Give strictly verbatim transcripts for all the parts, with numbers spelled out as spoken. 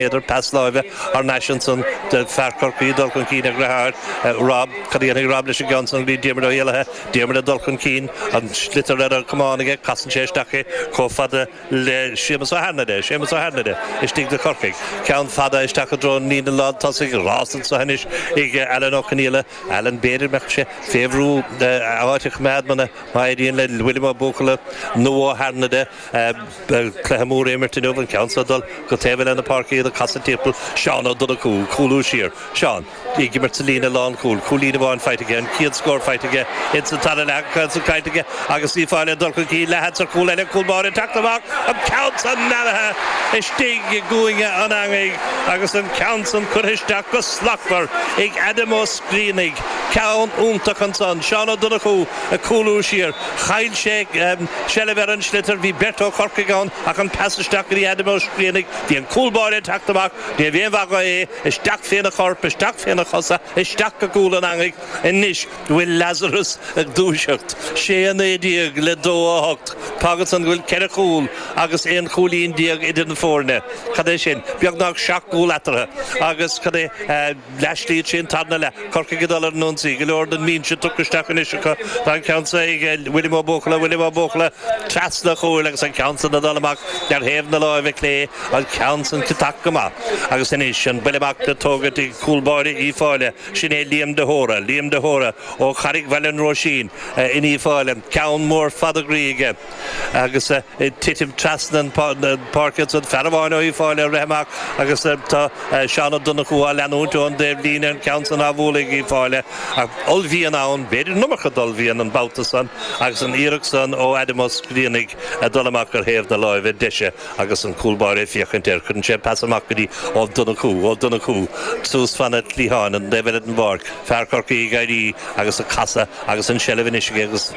Idir pas láimhe thar n-ais ansan do fear Chorcaí dul chun cinn a dheartháir Rob. Cad a dhéanfaidh Rob leis an gceann san? Bhí Diarmuid Ó hÉallaithe, Diarmuid ag dul chun cinn, an sliotar ar a chamán aige, casann sé isteach é chomh fada le Séamus Ó hAirnide, Séamus Ó hAirnide istigh do Chorcaigh. Ceann fada isteach i dtreo an líne lán tosaigh, rás anso anois ag Alan Ó Conaola. Alan b'fhéidir mbeadh sé fé bhrú a áit a choimeád muna má éiríonn le William Ó Buachalla nó Ó hAirnide. Cluiche mór a imirt inniu, an ceann seo ag dul go taobh eile na páirce, iad ag casadh timpeall, Seán Ó Donnchú, cúlú siar, Seán ag imirt sa líne lánchúil, cúilín amháin faighte aige, an chéad scór faighte aige ins an dara leath, an ceann san caillte aige agus Uíbh Fhailí ag dul chun cinn, leathsheans ar chúl eile, cúl báire ag teacht amach, an ceann san mearaithe istigh i gcúinne an eangaigh agus an ceann san curtha isteach go slachtmhar ag Adam Ó Scríonaigh, ceann iontach ansan, Seán Ó Donnchú ag cúlú siar, chaill sé seilbh ar an sliotar, bhí beirt ó Chorcaigh ann ach an pas isteach go dtí Adam Ó Scríonaigh, bhí an cúl báire ag teacht amach, ní raibh aon mhaith dhó é, isteach féna chorp, isteach féna chosa, isteach go cúl an eangaigh. Anois go bhfuil Lazarus ag dúiseacht, sé a naoi déag le dó a hocht, fágann san go bhfuil ceithre chúl agus aon chúilín déag idir na foirne. Cad é sin? Beagnach seacht gcúl eatarthu. Agus cad é? Leathshlí ansin, tarna leath, Corcaigh ag dul ar an ionsaí, go leor den mbinse tugtha isteach anois acu. Tá an ceann seo ag William Ó Buachalla, William Ó Buachalla trasna an chúil agus an ceann san ag dul amach ar thaobh na láimhe clé, an ceann san ciotach go maith. Agus anois an buille amach le tógaint ag cúl báire Uíbh Fhailí, sin é Liam de hÓra, Liam de hÓra ó Charraig Bhaile an Róisín in Uíbh Fhailí, ceann mór fada groí aige agus ag titim trasna an pháirc ansan, fear amháin ó Uíbh Fhailí ag rith amach agus tá Seán Ó Donnchú á leanúint ón dtaobhlíne, an ceann san á bhualadh ag Uíbh Fhailí ach ollmhian ann, b'fhéidir an iomarca d'ollmhian an babhta san agus an iarracht san ó Adam Ó Scríonaigh ag dul amach ar thaobh na láimhe deise agus an cúl báire ag féachaint air. Cuireann sé an pas amach go dtí Ó Donnchú, Ó Donnchú suas fana cliatháin an taobh eile den bpáirc, fear Chorcaí ag éirí agus ag casadh agus an tseilbh anois aige agus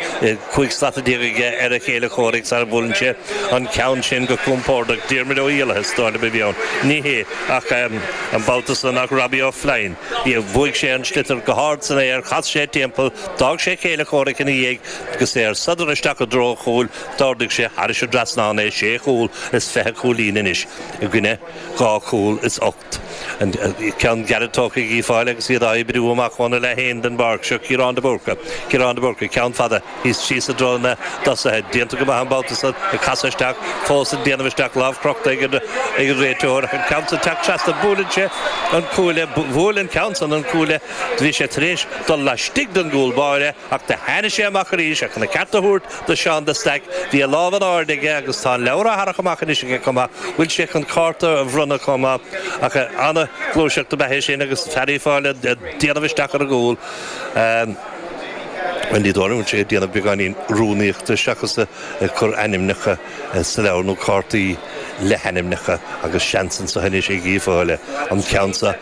cúig slata déag aige ar a chéile comhraic sara mbuaileann sé an ceann sin go compordach. Diarmuid Ó hÉallaithe is dóigh liom a bhí ann. Ní hé ach an babhta san ach Robbie Ó Floinn. Bhuaigh sé an sliotar go hard san aer, chas sé timpeall, d'fhág sé a chéile comhraic ina dhiaidh agus é ar sodar isteach i dtreo an chúil. D'ardaigh sé thairis an dtrasnán é, sé chúl is fiche cúilín anois i gcoinne dhá chúl is ocht. An ceann gearr tógtha ag Uíbh Fhailí agus iad á oibriú amach óna leath féin den bpáirc. Seo Ciarán de Búrca. Ciarán de Búrca, ceann fada thíos síos i dtreo na dtosaithe. Déanta go maith an babhta san, ag casadh isteach, fós ag déanamh isteach, lámh crochta ag an réiteoir ach an ceann san teacht trasna, buaileann sé an cuaille, bhuail an ceann san an cuaille, bhí sé tar éis dul laistigh den gcúl báire ach do tháinig sé amach arís ach chun a ceart a thabhairt do Seán de Staic, bhí a lámh in airde aige agus tá an leabhar á tharrac amach anois aige chomh maith, bhfuil sé chun cárta a bhronnadh chomh maith ach ana-ghluaiseacht ab ea é sin agus fear Uíbh Fhailí ag déanamh isteach ar an gcúl. Bhuel, ní dóigh liom go bhfuil sé ag déanamh beagáinín rúnaíochta seachas ag cur ainmneacha sa leabhar nó cártaí le hainmneacha agus seans anseo anois ag Uíbh Fhailí an ceann seo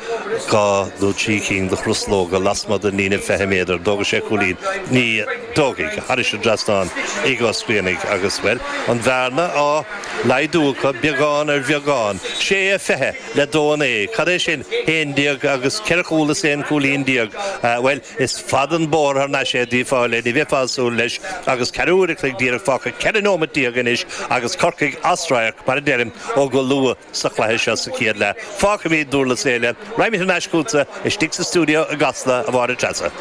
dhá nó trí cinn de chruslóga lasmuigh den líne fiche méadar. An dtógfaidh sé cúilín? Ní dtógfaidh. Thairis an dtrasnán ag Ó Scríonaigh agus, bhuel, an bhearna á laghdú acu beagán ar bheagán. Sé a fiche le dó a naoi. Cad é sin? Haon déag agus ceithre chúl is aon chúilín déag. Bhuel, is fada an bóthar thar n-ais é d'Uíbh Fhailí, ní bheifeá ag súil leis agus ceathrú uair a chloig díreach fágtha, ceithre nóimeat déag anois agus Corcaigh as radharc, mar a deirim, ó go luath sa chluiche seo sa chéad leath. Fágfaimid Durlas Éile, raghaimid thar n-ais chugatsa istigh sa stiúideo i gCasla, a Mháire Treasa.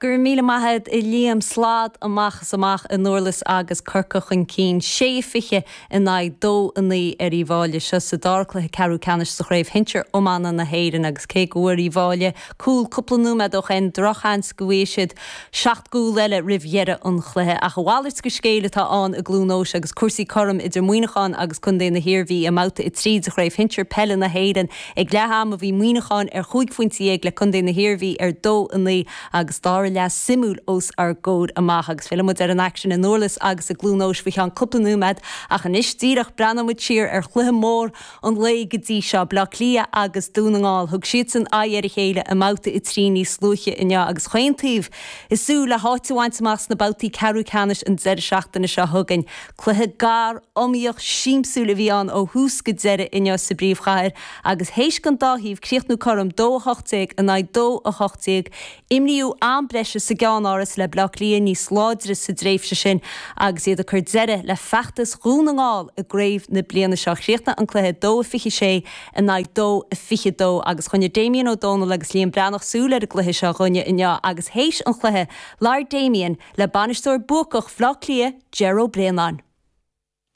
Go raibh míle maith agat a Liam. Slad amach is amach i nDurlas agus Corcaigh chun cinn sé fiche in aghaidh dó a naoi ar Uíbh Fhailí. Seo sa dara cluiche ceathrú ceannais sa Chraobh Shinsir Iomána na hÉireann agus cé go bhfuair Uíbh Fhailí cúl cúpla nóiméad ó shin, drochsheans go bhfaighidh siad seacht gcúl eile roimh dheireadh an chluiche. Ach a mhalairt de scéal atá ann i gCluain Eois agus cúrsaí cothrom idir Muineachán agus Contae na hIarmhí i mbabhta a trí de Chraobh Shinsir Peile na hÉireann. Ag leath ama bhí Muineachán ar chúig phointe dhéag le Contae na hIarmhí ar dó a naoi agus dara leath suimiúil os ár gcomhair amach agus fillfidh muid ar an aicsean i nDurlas agus i gCluain Eois faoi cheann cúpla nóiméad ach anois díreach breathnóidh muid siar ar chluiche mór an lae go dtí seo, Bleá Cliath agus Dún na nGall. Thug siadsan aghaidh ar a chéile i mbabhta a trí níos luaithe inniu agus chaon taobh ag súil le háit a bhaint amach sna babhtaí ceathrú ceannais an deireadh seachtaine seo chugainn. Cluiche gar, iomaíoch, siamsúil a bhí ann ó thús go deireadh inniu sa bpríomhchathair agus théis don dá thaobh críochnú cothrom, dó a hocht déag in aghaidh dó a hocht déag, imríodh am breise. deise sa gceannáras le Bleá Cliath níos láidre sa dtréimhse sin agus iad ag cur deireadh le feachtas Dhún na nGall i gcraobh na bliana seo chríochnaigh an cluiche dó a fiche sé in aghaidh dó a fiche dó agus choinnigh Damien Ó Dónaill agus Liam Breathnach súil ar an gcluiche seo dhúinne inniu agus théis an chluiche labhair Damien le bainisteoir buacach Bhaile Átha Cliath Ger Ó Braonáin.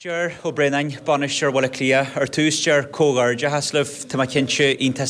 Ger Ó Braonáin bainisteoir Bhaile Átha Cliath ar tús Ger comhghairdeachas libh Tá mé cinnte iontach